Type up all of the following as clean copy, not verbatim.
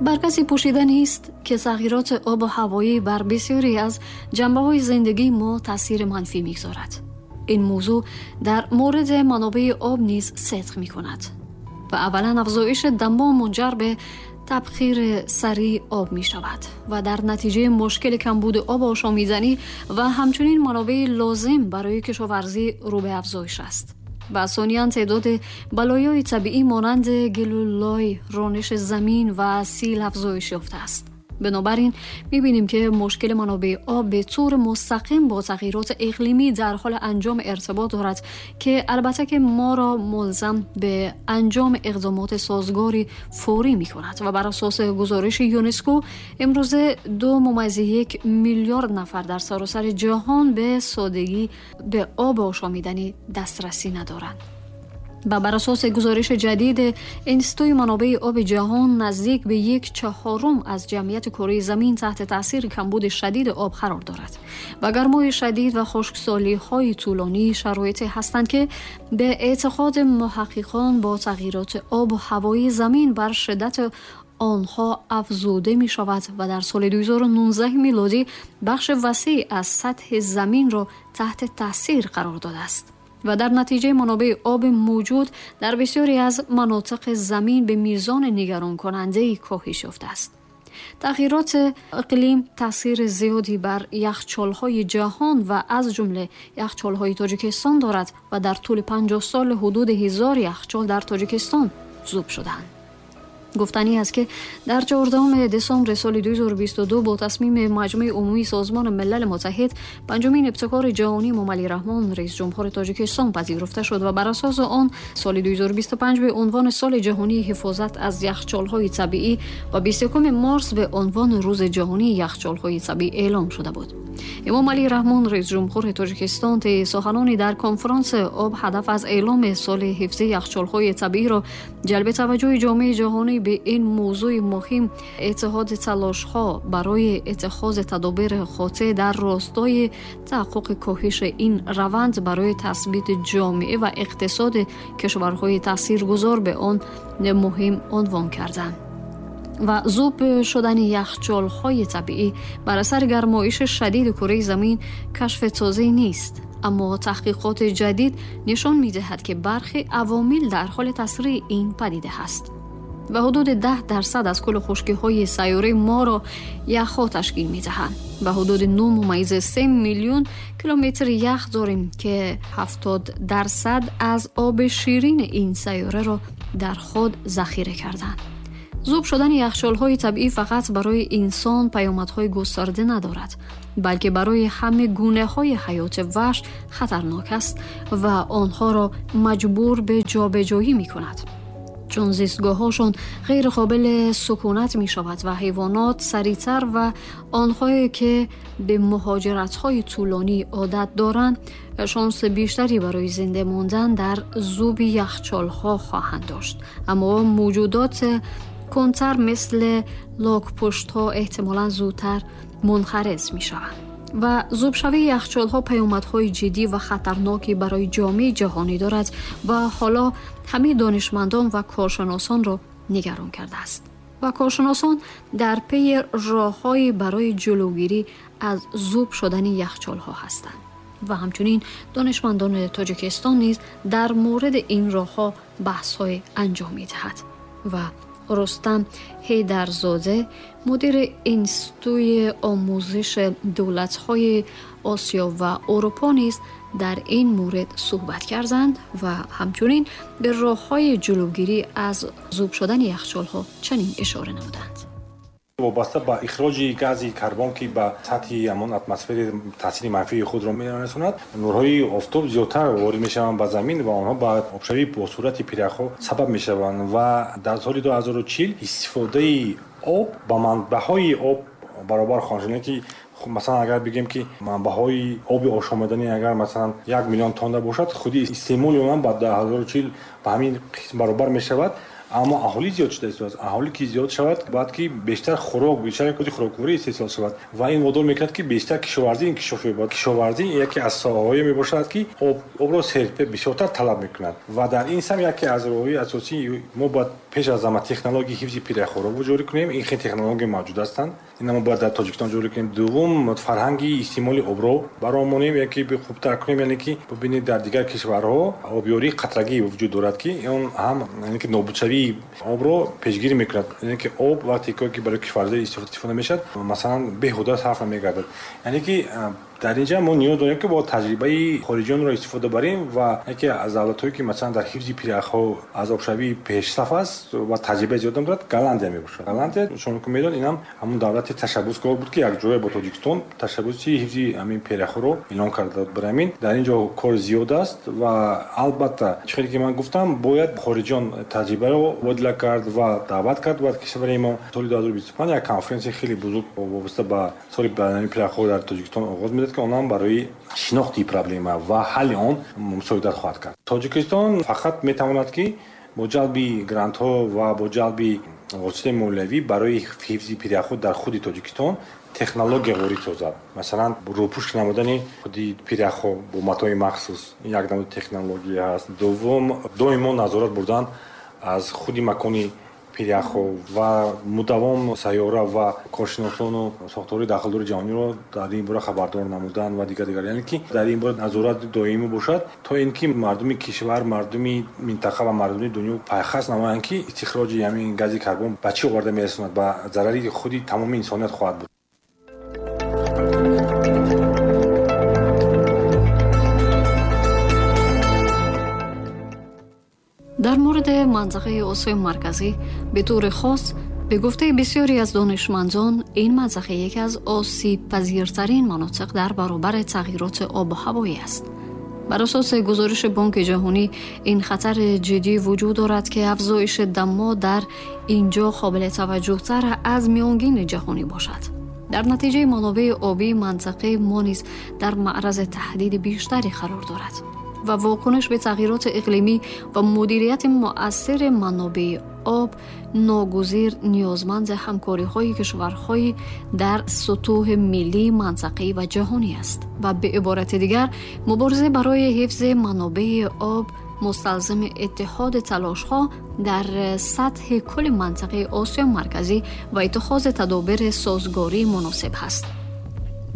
Бар касе пӯшида нест, ки тағйироти обу ҳавоӣ бар бисёре аз ҷанбаҳои зиндагии мо таъсири манфӣ мегузорад. Ин мавзӯъ дар мавриди манобеи об низ сидқ мекунад ва аввалан афзоиши дамо мунҷар ба табхири сариъи об мешавад ва дар натиҷа мушкили камбуди об ошомиданӣ ва ҳамчунин манобеи лозим барои кишоварзӣ рӯ ба афзоиш аст. Ва сониян теъдоди балоёи табиӣ монанди гилу лой, рониши замин ва сел афзоиш ёфтааст. Бинобар ин мебинем, ки мушкили манобеи об ба таври мустақим бо тағйироти иқлимӣ дар ҳоли анҷом иртибот дорад, ки албатта ки моро мулзам ба анҷоми иқдомоти созгори фаврӣ мекунад. Ва бар асоси гузориши ЮНЕСКО имрӯза 2.1 миллиард нафар дар саросари ҷаҳон ба содагӣ ба об ошомиданӣ дастрасӣ надоранд. Ва бар асоси гузориши ҷадиди Институти манобеи оби ҷаҳон, наздик ба 1/4 аз ҷамъияти кураи замин таҳти таъсири камбуди шадиди об қарор дорад ва гармои шадид ва хушксолиҳои тӯлонӣ шароите ҳастанд, ки ба эътиқоди муҳаққиқон бо тағйироти обу ҳавои замин бар шиддати онҳо афзуда мешавад ва дар соли 2019 милодӣ бахши васеъ аз сатҳи заминро таҳти таъсир қарор додааст ва дар натиҷаи манобеи оби мавҷуд дар бисёре аз манотиқи замин ба мизони нигаронкунандаи коҳиш ёфтааст. Тағйироти иқлим таъсири зиёде бар яхчолҳои ҷаҳон ва аз ҷумла яхчолҳои Тоҷикистон дорад ва дар тӯли 50 сол ҳудуди 1000 яхчол дар Тоҷикистон зуб шудаанд. Гуфтанӣ аст, ки дар 14 десамбри соли 2022 бо тасмими Маҷмӯи Умумии Созмони Милали Муттаҳид панҷумин ибтикори ҷаҳонии Эмомалӣ Раҳмон, раисҷумҳури Тоҷикистон, пазируфта шуд ва бар асоси он соли 2025 ба унвони соли ҷаҳонии ҳифозат аз яхчолҳои табиӣ ва 21 марс ба унвони Рӯзи ҷаҳонии яхчолҳои табиӣ эълом шуда буд. Эмомалӣ Раҳмон, раисҷумҳури Тоҷикистон, тӯи суханони дар конфронси об ҳадаф аз эъломи соли ҳифзи яхчолҳои табииро ҷалби таваҷҷӯҳи ҷомеаи ҷаҳонӣ ба ин мавзӯи муҳим, иттиҳоди талошҳо барои иттихози тадобири қотеъ дар ростои таҳаққуқи коҳиши ин раванд барои тасбити ҷомеа ва иқтисоди кишварҳои таъсиргузор ба он муҳим унвон карданд. Ва зуб шудани яхчолҳои табиӣ бар асари гармоиши шадиди кураи замин кашфи тозае нест, аммо таҳқиқоти ҷадид нишон медиҳад, ки бархе авомил дар ҳоли таъсири ин падида ҳаст ва ҳудуди 10% аз кулли хушкиҳои сайёраи моро яхҳо ташкил медиҳанд ва ҳудуди 9.3 миллион километр ях дорем, ки 70% аз оби ширини ин сайёраро дар худ захира карданд. Зуб шудани яхчолҳои табиӣ фақат барои инсон паёмадҳои густарда надорад, балки барои ҳама гунаҳои ҳаёти ваҳш хатарнок аст ва онҳоро маҷбур ба ҷобаҷоӣ мекунад, чун зистгоҳҳошон ғайриқобили сукунат мешавад ва ҳайвонот сариътар ва онҳое ки ба муҳоҷиратҳои тӯлонӣ одат доранд, шонси бештаре барои зинда мондан дар зуби яхчолҳо хоҳанд дошт. Аммо мавҷудот кунтар мисли локпуштҳо эҳтимолан зудтар мунқарез мешаванд ва зубшавии яхчолҳо паёмадҳои ҷиддӣ ва хатарноке барои ҷомеаи ҷаҳонӣ дорад ва ҳоло ҳамаи донишмандон ва коршиносонро нигарон кардааст ва коршиносон дар пайи роҳҳое барои ҷилавгирӣ аз зуб шудани яхчолҳо ҳастанд ва ҳамчунин донишмандони Тоҷикистон низ дар мавриди ин роҳҳо баҳсҳое анҷом медиҳад. Ва Рустам Ҳайдарзода, мудири Институти омӯзиши давлатҳои Осиё ва Аврупо, низ дар ин маврид суҳбат карданд ва ҳамчунин ба роҳҳои ҷилавгирӣ аз зуб шудани яхчолҳо чунин ишора намуданд. Вобаста ба ихроҷи гази карбон, ки ба сатҳи ҳамон атмосфери таъсири манфии худро мерасонад, нурҳои офтоб зиёдтар ворид мешаванд ба замин ва онҳо ба обшавӣ бо суръати пиряхҳо сабаб мешаванд. Ва дар соли 2040 истифодаи об ба манбаъҳои об баробар хоҳанд шуд, ки масалан агар бигем, ки манбаъҳои оби ошомиданӣ агар масалан 1 миллион тонна бошад, худи истеъмоли он ба 2040 ба ҳамин қисм баробар мешавад. Аммо аҳолӣ зиёд шуда истодааст. Аҳолӣ ки зиёд шавад, бояд ки бештар хӯрок, бештар хӯрокворӣ истеҳсол шавад ва ин водор мекунад, ки бештар кишоварзӣ инкишоф ёбад. Кишоварзӣ яке аз соҳаҳое мебошад, ки обро бисёртар талаб мекунад ва дар ин сам яке аз роҳҳои асосии мо бояд пеш аз ҳама технологияи ҳифзи пиряхҳоро ҷорӣ кунем. Ин хел технология мавҷуд ҳастанд. Ина мо бояд дар Тоҷикистон ҷорӣ кунем. Дуввум, фарҳанги истеъмоли обро баромонем, яке хубтар кунем, яъне ки бибинед, дар дигар кишварҳо обёрии қатрагӣ вуҷуд дорад, ки он ҳам яъне ки нобудшавии обро пешгирӣ мекунад. Яъне ки об вақте ки барои кишоварзӣ истифода мешавад, масалан, беҳуда сарф намегардад. Яъне ки дар инҷа мо ниёз дорем, ки бо таҷрибаи хориҷиёнро истифода барем ва яке аз давлатҳое, ки масалан дар ҳифзи пиряхҳо аз обшавӣ пешсаф аст ва таҷрибаи зиёдам дорад, Голландия мебошад. Голландия, шумо ки медонед, инам ҳамон давлати ташаббускор буд, ки якҷоя бо Тоҷикистон ташаббуси ҳифзи ҳамин пиряхҳоро эълон карда буд. Барои ҳамин дар ин ҷо кор зиёд аст ва албатта, чӣ хеле ки ман гуфтам, бояд хориҷиён таҷрибаро мубодила кард ва даъват кард. Бояд кишвари мо соли 2025 як конференсияи хеле бузург вобаста ба соли байналмилалии пиряхҳо дар Тоҷикистон оғоз медиҳад, ки он ҳам барои шинохти проблема ва ҳалли он мусоидат хоҳад кард. Тоҷикистон фақат метавонад, ки бо ҷалби грантҳо ва бо ҷалби воситаи молиявӣ барои ҳифзи пиряхҳо дар худи Тоҷикистон технология ворид созад. Масалан, рӯпӯш намудани худи пиряхҳо бо матои махсус, ин як намуди технология ҳаст. Дуввум, доимо назорат бурдан аз худи макони пиряхҳо ва мудавом сайёра ва коршиносону сохторҳои дахлдори ҷаҳониро дар ин бора хабардор намудан ва дигар дигар. Яъне ки дар ин бора назорат доимӣ бошад, то ин ки мардуми кишвар, мардуми минтақа ва мардуми дунё пайхас намоянд, ки истихроҷи ҳамин гази карбон ба чӣ оварда мерасонад, ба зарари худи тамоми инсоният хоҳад буд. Дар мавриди منطقه آسیای مرکزی به طور خاص، به گفته بسیاری از دانشمندان، این منطقه یکی از آسیب پذیرترین مناطق در برابر تغییرات آب و هوایی است. بر اساس گزارش بانک جهانی، این خطر جدی وجود دارد که افزایش دما در اینجا قابل توجه تر از میانگین جهانی باشد. در نتیجه منابع آبی منطقه ما نیز در معرض تهدید بیشتری قرار دارد و واکنش به تغییرات اقلیمی و مدیریت مؤثر منابع آب ناگزیر نیازمند همکاری‌های کشورهای در سطوح ملی، منطقه‌ای و جهانی است و به عبارت دیگر مبارزه برای حفظ منابع آب مستلزم اتحاد تلاش‌ها در سطح کل منطقه آسیا مرکزی و اتخاذ تدابیر سازگاری مناسب است.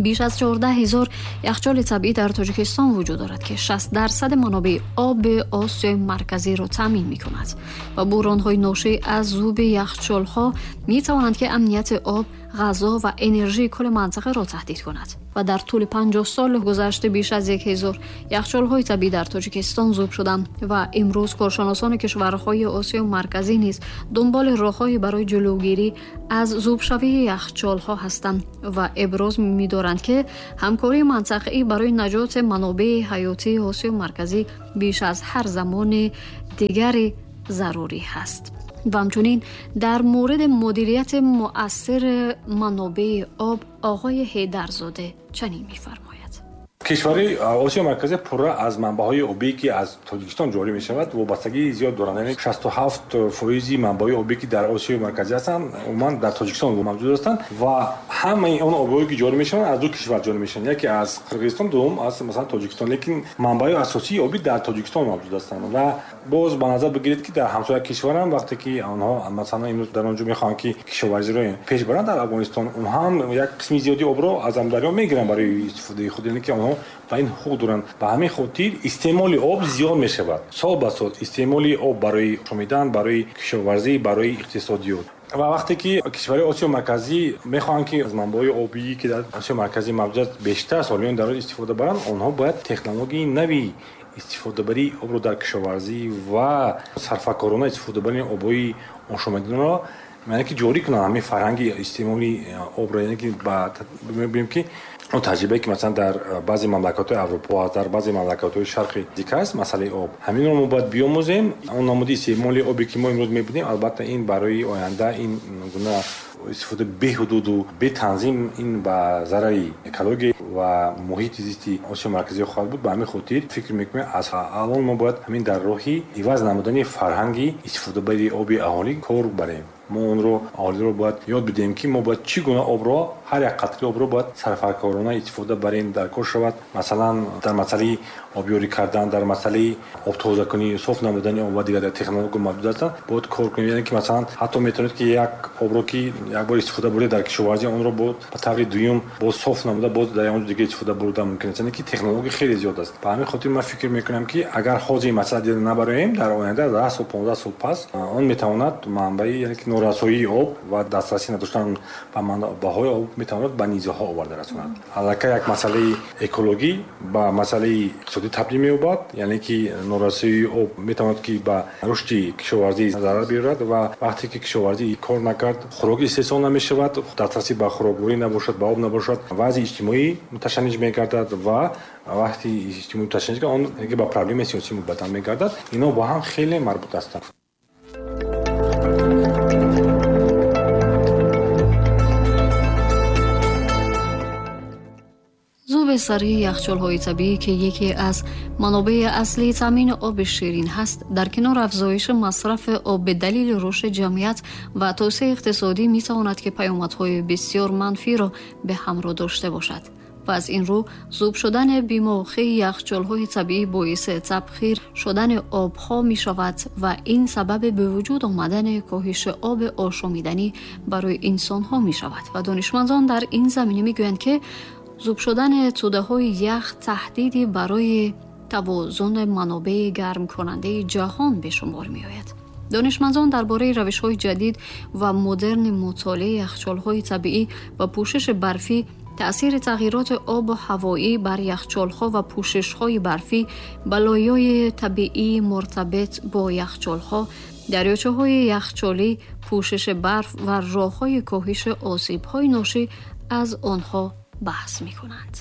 بیش از 14,000 یخچال طبیعی در تاجیکستان وجود دارد که 60% منابع آب آسیای مرکزی را تامین می کند و بحران‌های ناشی از ذوب یخچال‌ها می توانند که امنیت آب، غذا و انرژی کل منطقه را تهدید کند و در طول 50 سال گذشته بیش از 1000 یخچال‌های طبیعی در تاجیکستان ذوب شدند و امروز کارشناسان کشورهای آسیای مرکزی نیز دنبال راه‌هایی برای جلوگیری از ذوب شوی یخچال‌ها هستند و ابراز می‌دارند که همکاری منطقه‌ای برای نجات منابع حیاتی آسیای مرکزی بیش از هر زمان دیگری ضروری است. و همچنین در مورد مدیریت مؤثر منابع آب آقای حیدرزاده چنین می‌فرماید. Кишвари Осиёи Марказӣ пурра аз манбаъҳои обӣ, ки аз Тоҷикистон ҷорӣ мешавад, вобастагии зиёд доранд. Яъне 67% манбаъҳои обӣ, ки дар Осиёи Марказӣ ҳастанд, умуман дар Тоҷикистон мавҷуд ҳастанд ва ҳамаи он обҳое, ки ҷорӣ мешаванд, аз ду кишвар ҷорӣ мешаванд. Яке аз Қирғизистон, дуввум аз масалан Тоҷикистон. Лекин манбаъҳои асосии обӣ дар Тоҷикистон мавҷуд ҳастанд ва боз ба назар бигиред, ки дар ҳамсоя кишварам вақте ки онҳо масалан имрӯз дар он ҷо мехоҳанд, ки кишоварзиро пеш баранд дар Афғонистон, онҳо ҳам як қисми зиёди обро аз Амударё мегиранд барои истифодаи худ, яъне ки онҳо ба ин ҳуқуқ доранд. Ба ҳамин хотир истеъмоли об зиёд мешавад. Сол ба сол истеъмоли об барои шомидан, барои кишоварзӣ, барои иқтисодиёт. Ва вақте ки кишварҳои Осиёи Марказӣ мехоҳанд, ки аз манбаъҳои обӣ, ки дар Осиёи Марказӣ мавҷуд аст, бештар солиён дар он истифода баранд, онҳо бояд технологияи нави истифодабарии обро дар кишоварзӣ ва сарфакорона истифодабарии обҳои ошомиданиро, яъне ки ҷорӣ кунанд ҳамин фарҳанги истеъмоли обро, яъне ки мебинем, ки он таҷрибае, ки масалан дар баъзе мамлакатҳои Аврупо аст, дар баъзе мамлакатҳои шарқи дика аст, масъалаи об. Ҳаминро мо бояд биомӯзем. Он намуди истеъмоли обе, ки мо имрӯз мебинем, албатта ин барои оянда ин гуна истифода беҳудуду бетанзим ин ба зарари экология ва муҳити зисти Осиёи Марказӣ хоҳад буд. Ба ҳамин хотир фикр мекунем, аз алон мо бояд ҳамин дар роҳи иваз намудани фарҳанги истифодабарии оби аҳолӣ кор барем. Мо онро, аҳолиро бояд ёд бидиҳем, ки мо бояд чӣ гуна обро, ҳар як қатри обро бояд сарфакорона истифода барем, дар кор шавад. Масалан, дар масъалаи обёрӣ кардан, дар масъалаи обтозакунӣ, соф намудани об ва дигар технология мавҷуд ҳастанд, бояд кор кунем. Яъне ки масалан ҳатто метавонед, ки як обро, ки як бор истифода бурда дар кишоварзӣ, онро боз ба таври дуюм боз соф намуда, боз дар он дигар истифода бурда мумкин аст. Яъне ки технология хеле зиёд аст. Ба ҳамин хотир ман фикр мекунам, ки агар ҳозир ин масъала дида набароем, дар оянда 10 сол, 15 сол пас он метавонад манбаи, яъне ки норасоии об ва дастрасӣ надоштан ба манбаъҳои об метавонад ба низоъҳо оварда расонад. Аллакай як масъалаи экологӣ ба масъалаи иқтисодӣ табдил меёбад, яъне ки норасоии об метавонад, ки ба рушди кишоварзӣ зарар биёрад, ва вақте ки кишоварзӣ кор накард, хӯрок истеҳсол намешавад, дастрасӣ ба хӯрокворӣ набошад, ба об набошад, вазъи иҷтимоӣ муташанниҷ мегардад, ва вақти иҷтимоӣ муташанниҷ, он ба проблемаи сиёсӣ мубаддал мегардад. Ино бо ҳам хеле марбут ҳастанд. Зуби сариъи яхчолҳои табиӣ, ки яке аз манобеи аслии таъмини оби ширин ҳаст, дар канори афзоиши масрафи об ба далели рушди ҷамъият ва тавсеаи иқтисодӣ метавонад, ки паёмадҳои бисёр манфиро ба ҳамроҳ дошта бошад. Ва аз ин рӯ зуб шудани бемавқеи яхчолҳои табиӣ боиси табхир шудани обҳо мешавад ва ин сабаби ба вуҷуд омадани коҳиши оби ошомиданӣ барои инсонҳо мешавад. Ва донишмандон дар ин замина мегӯянд, ки зуб шудани тӯдаҳои ях таҳдиде барои тавозуни манобеи гармкунандаи ҷаҳон ба шумор меояд. Донишмандон дар бораи равишҳои ҷадид ва модерни мутолиаи яхчолҳои табиӣ ва пӯшиши барфӣ, таъсири тағйироти обу ҳавоӣ бар яхчолҳо ва пӯшишҳои барфӣ, балоёи табиии муртабит бо яхчолҳо, дарёчаҳои яхчолӣ, пӯшиши барф ва роҳҳои коҳиши осебҳои ношӣ аз онҳо баҳс мекунанд.